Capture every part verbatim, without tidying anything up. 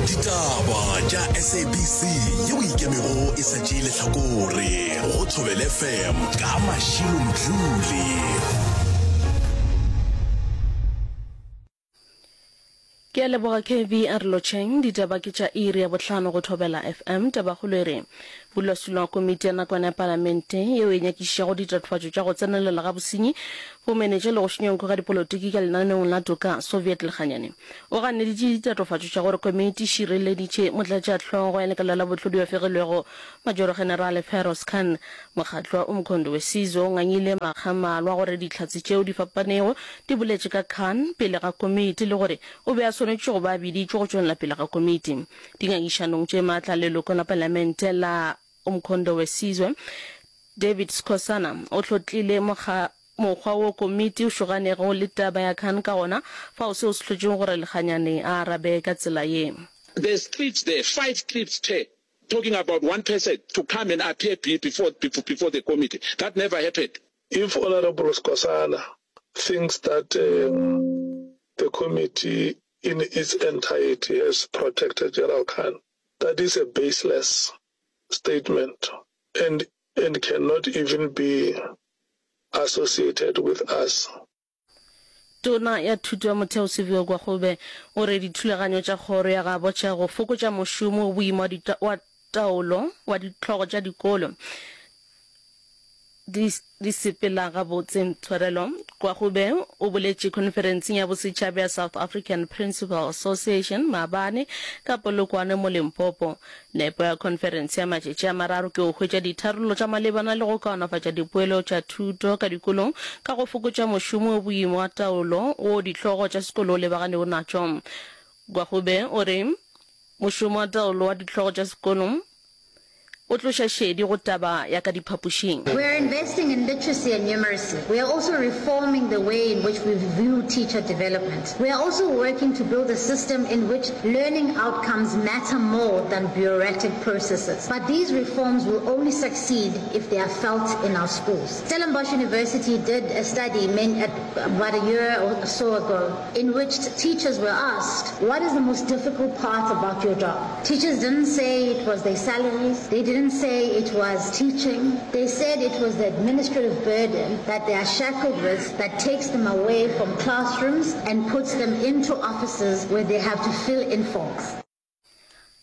Ditaba tša S A B C yeo e ikemego e sa tšee lehlakore go Thobela F M ka Mashilo Mdluli. Ke a leboga K V a re lotšheng. Ditaba ke tša iri ya bohlano go Thobela F M. Tabakgolo e re modulasetulo wa komiti ya nakwana ya palamente yeo e nyakišišago ditatofatšo tša go tsenelela ga bosenyi, bomenetša le go šunya nko ga dipolotiki ka lenaneong la toka, Soviet Lekganyane, o ganeditše ditatofatšo tša gore komiti e šireleditše motlatšahlogo ya lekala la bohlodi wa fegilwego Majoro-Generale Feroz Khan. Mokgatlo wa Umkhonto we Sizwe o ngangile makga a mmalwa gore dihlatse tšeo di fapanego di boletše ka Khan pele ga komiti le gore o be a swanetše go ba a biditšwe go tšwelela pele ga komiti. Dingangišanong tše matla, leloko la palamente la Umkhonto we Sizwe, David Skhosana, o hlotlile mokgwa wo komiti o šoganego le taba ya Khan ka gona, fao seo se hlotšego gore Lekganyane a arabe ka tsela ye. There's clips there, five clips, Chair, talking about one person to come and appear before, before the committee. That never happened. If Honourable Skhosana thinks that um, the committee in its entirety has protected General Khan, that is a baseless statement and, and cannot even be associated with us. Tona ya Thuto ya Motheo Siviwe Gwarube o re dithulaganyo tša kgoro ya gabo tša go fokotša mošomo o boima wa taolo wa dihlogo tša dikolo di di sepela gabotse. Tshwarelo Gwarube o boletše khonferenseng ya bosetšhaba ya South African Principal Association maabane ka Polokwane mo Limpopo. Nepo ya khonferense ya matšatši a mararo ke go hwetša ditharollo tša malebana le go kaonafatša dipoelo tša thuto ka dikolong ka go fokotša mošomo o boima wa taolo wo dihlogo tša sekolo o lebaganego natšo. Gwarube o re mošomo wa taolo wa dihlogo tša sekolo o tloša šedi go taba ya ka diphapošing. We are investing in literacy and numeracy. We are also reforming the way in which we view teacher development. We are also working to build a system in which learning outcomes matter more than bureaucratic processes. But these reforms will only succeed if they are felt in our schools. Stellenbosch University did a study about a year or so ago in which teachers were asked, what is the most difficult part about your job? Teachers didn't say it was their salaries. They didn't say it was teaching. They said it was the administrative burden that they are shackled with that takes them away from classrooms and puts them into offices where they have to fill in forms.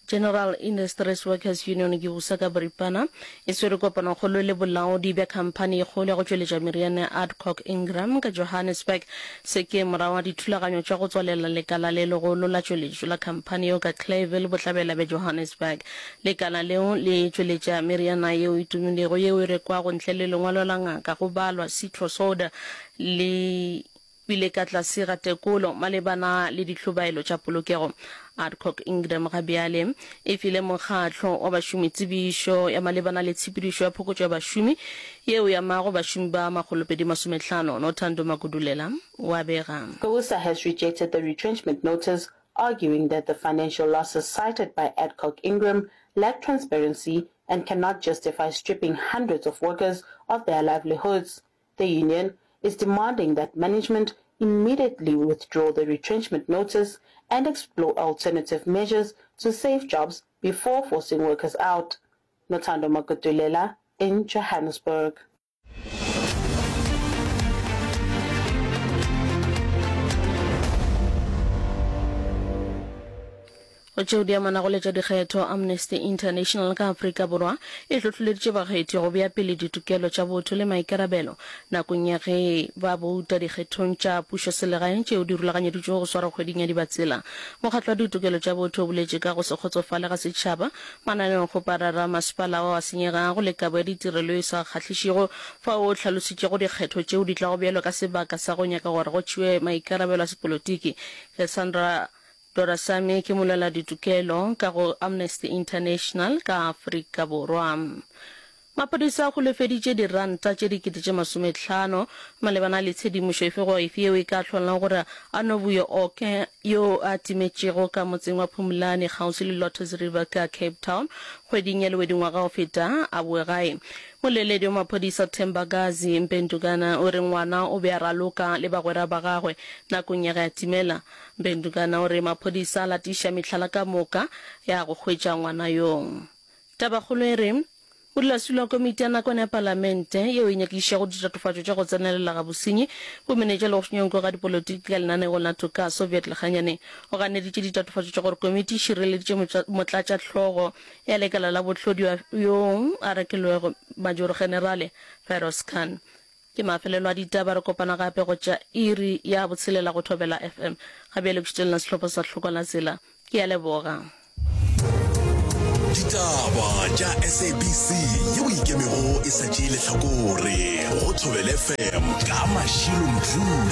General Industries Workers Union GIWUSA ka boripana e swere kopanokgolo le bolaodi bja khamphani e kgolo ya go tšweletša meriana ya Adcock Ingram ka Johannesburg. Se ke morago ga dithulaganyo tša go tswalela lekala le legolo la tšweletšo la khamphani yeo ka Clayville, bohlabela bja Johannesburg. Lekala leo le tšweletša meriana yeo e tumilego yeo e rekwago ntle le lengwalo la ngaka go balwa Citrosoda le bile ka tlase ga tekolo malebana le dihlobaelo tša polokego. Adcock Ingram ga bjale e file mokgatlo wa bašomi tsebišo ya malebana le tshepedišo ya phokotšo ya bašomi yeo e amago bašomi ba makgolopedi masomehlano. Nothando Magudulela wa bega. GIWUSA has rejected the retrenchment notice, arguing that the financial losses cited by Adcock Ingram lack transparency and cannot justify stripping hundreds of workers of their livelihoods. The union is demanding that management immediately withdraw the retrenchment notice and explore alternative measures to save jobs before forcing workers out. Nothando Magudulela in Johannesburg. Go tšeo di amanago le tša dikgetho, Amnesty International ka Afrika Borwa e hlohleleditše bakgethi go bea pele ditokelo tša botho le maikarabelo nakong ya ge ba bouta dikgethong tša pušoselegae tšeo di rulaganyeditšwego go swarwa kgweding ya Dibatsela. Mokgatlo wa Ditokelo tša Botho o boletše ka go se kgotsofale ga setšhaba mananeongkgoparara a masepala ao a senyegago le kabo ya ditirelo e sa kgahlišego fao o hlalositšego dikgetho tšeo di tlago bjalo ka sebaka sa go nyaka gore go tšewe maikarabelo a sepolotiki. Cassandra Dorasamy ke molweladitokelo ka go Amnesty International ka Afrika Borwa. Maphodisa a holofeditše diranta tše dikete tše masomehlano malebana le tshedimošo efe goba efe yeo e ka hlolago gore Anovuyo Oke yo a timetšego ka motseng wa Phumlani kgauswi le Lotus River ka Cape Town kgweding ya Lewedi ngwaga o feta a boe gae. Moleledi wa maphodisa Thembakazi Mpendukana o re ngwana o be a raloka le bagwera ba gagwe nakong ya ge a timela. Mpendukana o re maphodisa a latiša mehlala ka moka ya go hwetša ngwana yoo. Tabakgolo e re, Modulasetulo wa Komiti ya Nakwana ya Palamente yeo e nyakišišago ditatofatšo tša go tsenelela ga bosenyi, bomenetša le go šunyanko ga dipolotiki ka lenaneong la toka, Soviet Lekganyane, o ganeditše ditatofatšo tša gore komiti e šireleditše motlatšahlogo ya lekala la bohlodi yo a rekilwego, Majoro-Generale Feroz Khan. Ke mafelelo a ditaba, re kopana gape go tša iri ya botshelela go Thobela F M. Ga bjale ke šutelela sehlopha sa Hlokwa la Tsela. Ke a leboga. Ditaba tša S A B C yeo e ikemego e sa tšee lehlakore go Thobela F M ka Mashilo Mdluli.